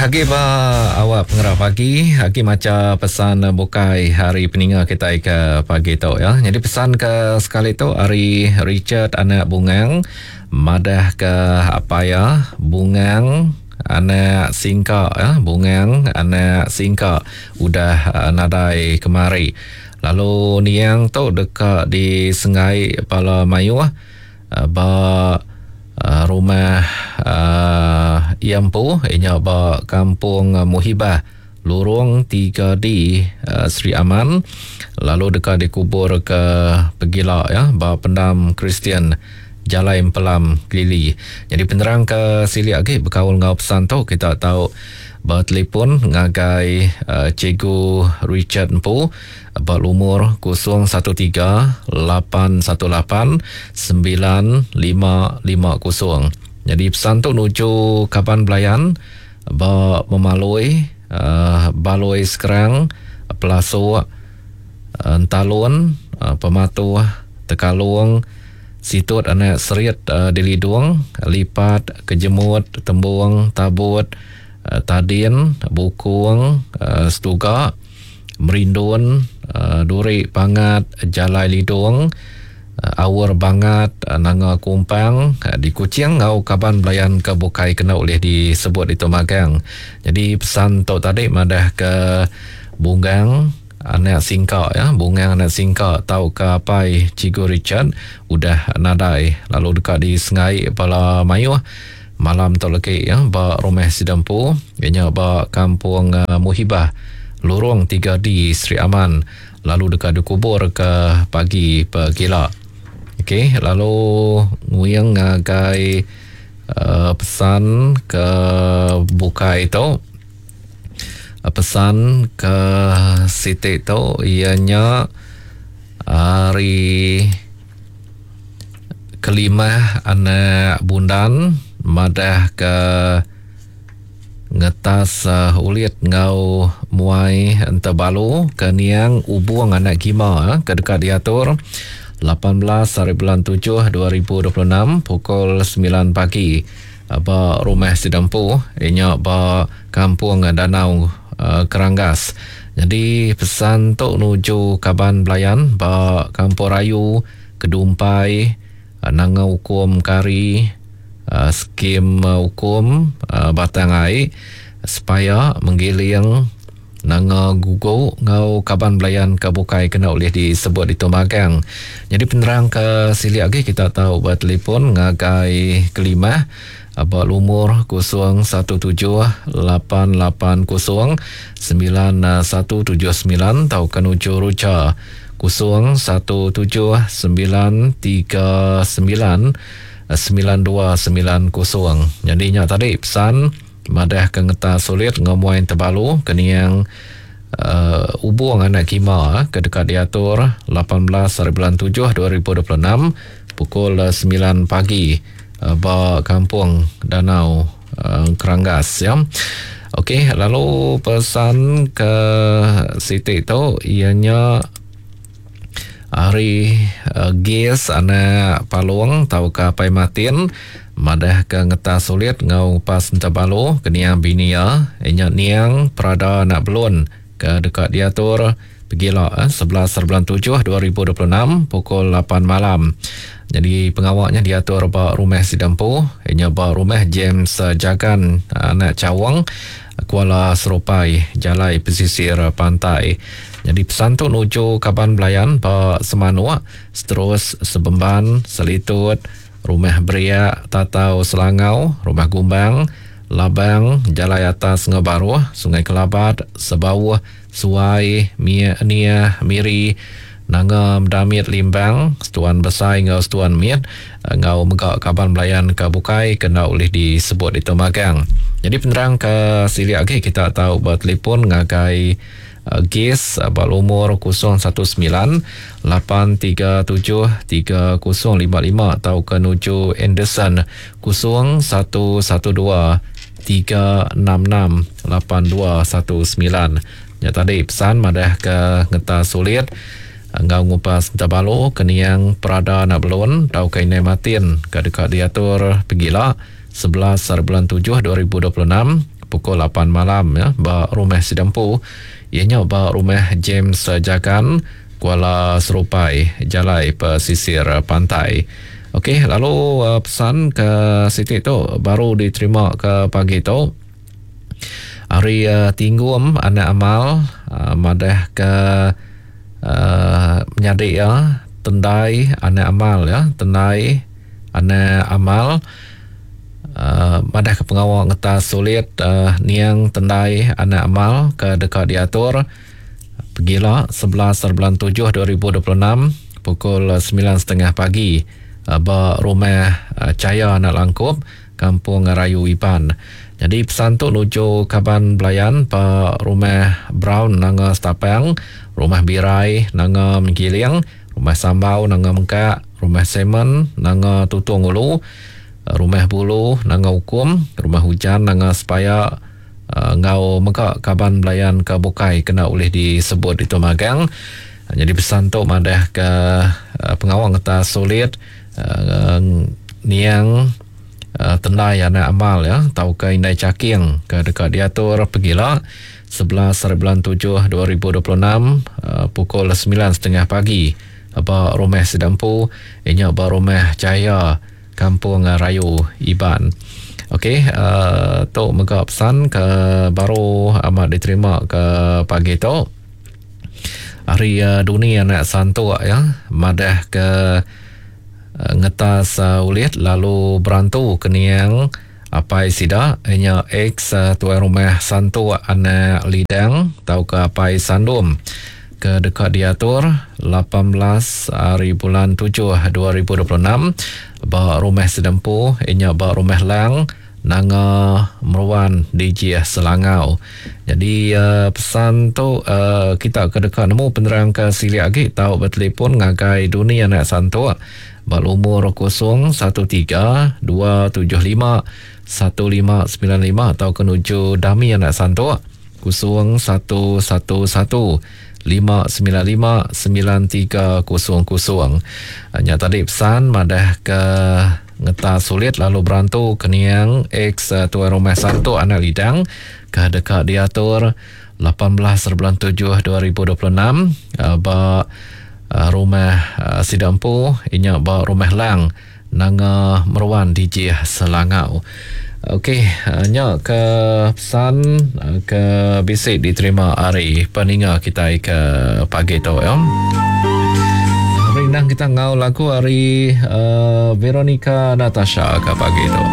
Agi ba awak pengerah pagi, agi macha pesan bukai hari peninga kitai ke pagi tu ya. Jadi pesan ke sekali tu ari Richard anak Bungang madah ke apai iya Bungang anak Singka ya, Bungang anak Singka udah nadai kemari. Lalu niang tu deka disenggai bala mayuh Ba rumah iya empu iya nya ba Kampung Muhibah, Lurung 3D, Sri Aman lalu deka dikubur ke pegila iya ba Pendam Kristian Jalai Empelam, Kelili. Nyadi penerang ke silik agi bekaul enggau pesan tu kita tau betelefon ngagai Cikgu Richard empu. Ba lumur 013-818 9550. Nyadi pesan tu nuju kaban belayan ba Memalui, Balui Skrang, Pelasuk, Entalun, Pematuh, Tekalong, Situt Anak Serit Dilidung, Lipat, Kejemut, Tembung, Tabut, Tadin, Bukung, Setuga, Merindun, Duri Pangat, Jalai Lidong, Aur Bangat, Nanga Kumpang, di Kuching enggau kaban belayan ke bukai kena ulih disebut ditu magang. Nyadi pesan tu tadi madah ke Bunggang anak Singka ya, Bungang anak Singka tauka apai Cikgu Richard udah nadai lalu deka disengai bala mayuh Malam tu legi iya ba rumah sida empu iya nya ba Kampung Muhibah, Lurung 3D Sri Aman lalu deka dikubur ke pagi pegila. Okey lalu nguing ngagai uhh pesan ke bukai tu. Pesan ke siti tu iya nya ari Kelimah anak Bundan madah ke ngetas ulit enggau muai entebalu ke niang Ubung anak Gima ke deka diatur 18 hari bulan 7 2026 pukul 9 pagi ba rumah sida empu iya nya ba Kampung Danau Keranggas. Nyadi pesan tu nuju kaban belayan ba Kampung Rayu, Kedumpai, Nanga Ukum Kari, Skim Ukum Batang Ai, Sepaya, Menggiling, Nanga Gugu enggau kaban belayan ke bukai kena ulih disebut ditu magang. Nyadi penerang ke silik agi kita tau betelefon ngagai Kelimah ba lumur 0178809179 tauka nuju Ruja 0179399290. Nyadi nya tadi pesan madah ke ngetas sulit enggau muai tebalu ke niang uhh Ubong anak Kima ke deka diatur 18 hari bulan 7 2026 pukul 9 pagi ba Kampung Danau Keranggas ya. Okey lalu pesan ke siti tu iya nya ari Gis anak Palong tauka Apai Martin madah ke ngetas sulit enggau ngupas Entabalu ke niang bini iya nya niang Prada anak Belon ke deka diatur pegila 11 bulan 7 2026 pukul 8 malam. Nyadi pengawa nya diatur ba rumah sida empu iya nya ba rumah James Jagan anak Chaong Kuala Serupai Jalai Pesisir Pantai. Nyadi pesan tu nuju kaban belayan ba Semanuk, Seterus, Sebemban, Selitut, Rumah Beriak, Tatau Selangau, Rumah Gumbang, Labang, Jalai Atas enggau Baruh, Sungai Kelabat, Sebauh, Suai, Mie, Niah, Miri, Nanga Medamit Limbang, Setuan Besai enggau Setuan Mit enggau mega kaban belayan ke bukai ke enda ulih disebut ditu magang. Nyadi penerang ke silik agi kita tau betelefon ngagai Gis ba lumur 019 837 3055 tauka nuju Anderson 0112 366 8219. Nya tadi pesan madah ke ngetas sulit enggau ngupas Entabalu ke niang Prada anak Belon tauka Indai Martin ke deka diatur pegila 11 hari bulan 7 2026. pukul 8 malam ya ba rumah sida empu iya nya ba rumah James Jagan Kuala Serupai Jalai Pesisir Pantai. Okey lalu uh, pesan ke siti tu baru diterima ke pagi tu ari uh, Tinggum anak Amal uh, madah ke uh, menyadi iya Tendai anak Amal ya Tendai anak Amal uh, madah ke pengawa ngetas sulit uh, niang Tendai anak Amal ke deka diatur Pegila, 11 bulan 7 2026, pukul 9.30 pagi ba Rumah Chaya Anak Langkup, Kampung Rayu Iban. Nyadi pesan tu nuju kaban belayan ba Rumah Brown Nanga Stapang, Rumah Birai Nanga Mengkiling, Rumah Sambau Nanga Mengkak, Rumah Simon Nanga Tutong Ulu, Rumah Bulu Nanga Ukum, Rumah Hujan Nanga Sepaya, Enggau mega kaban belayan ke bukai kena ulih disebut ditu magang. Nyadi pesan tu madah ke pengawa ngetas sulit niang tendai anak amal ya tauka indai chaking ke deka diatur pegila 11 hari bulan 7 2026 pukul 9.30 pagi ba rumah sida empu inya ba rumah Jaya Kampung Rayu Iban. Okey, uh, tu mega pesan ke baru amat diterima ke pagi tu. Hari uh, Duni anak Santuk ya, madah ke uh, ngetas uh, ulit lalu berantu ke niang apai sida inya ex uh, tuai rumah Santuk anak Lidang tauka apai Sandum ke deka diatur 18 hari bulan 7 2026 ba Rumah Sedempu inya ba Rumah Lang Nanga Meruan Dijih Selangau. Jadi uh, pesan tu uh, kita ke deka nemu penerang ke silik agi tau betelefon ngagai Duni Anak Santuk ba lumur 013 275 1595 atau ke nuju Dami Anak Santuk 0111 595 9300. Nya tadi pesan madah ke ngeta sulit lalu berantu ke niang ex tuai rumah Santuk anak Lidang ke deka diatur 18 bulan 7 2026 ba rumah sida empu inya ba rumah Lang Nanga Meruan Dijih Selangau. Okey, nya ke pesan ke bisi diterima ari peninga kitai ke pagi tu ya. Rindang kita ngau lagu ari uh, Veronica Natasha ke pagi tu.